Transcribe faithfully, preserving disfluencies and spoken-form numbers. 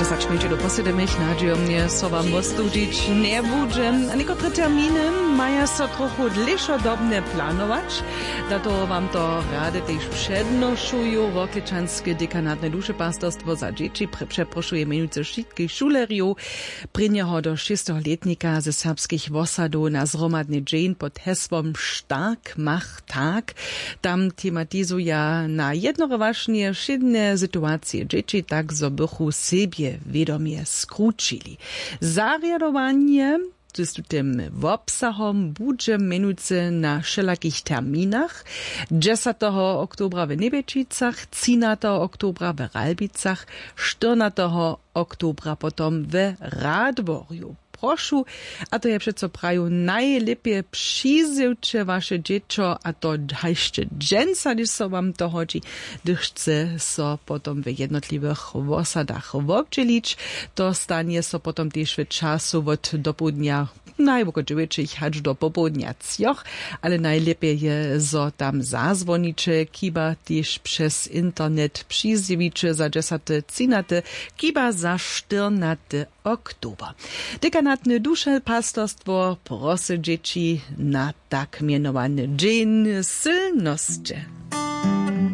Začmejće do posledemich nadźijomnje so wam wostudźić njebudźe. A někotre terminy maja so trochu dlěšodobnje planować. Za toho wam to rady tež přednošuju. Worklečanske dekanatne dušepastorstwo za dźěći prě- přeprošuje mjenujcy wšitkich šulerjow prěnjeho do šěsteho lětnika ze serbskich wosadow na zhromadny dźeń pod hesłom Stark mach tak. Tam tematizuja na jednorowašnje wšědne situacije dźěći, tak zo bychu sebje wědomje skrućili. Zarjadowanje z tutym wobsahom budźe mjenujcy na wšelakich terminach: dźesateho oktobra w Njebjećicach, třinateho oktobra w Ralbicach, štyrnateho oktobra potom w Radworju. Prošu, a to je přeco praju, najlěpje přizjewće waše dźěćo, a to hašće dźensa, hdyž so wam to hodźi, hdyž chce so potom w jednotliwych wosadach wobdźělić. To stanje so potom tež w času wot dopołdnja najwoko dźewjećich hač do popołdnja třoch, ale najlěpje je, zo tam zazwoniće, chiba tež přez internet přizjewiće za dźesaty, třinaty, chiba za štyrnaty oktober. Dekanatne dušepastorstwo prosy dźěći na tak mjenowany dźeń sylnosće.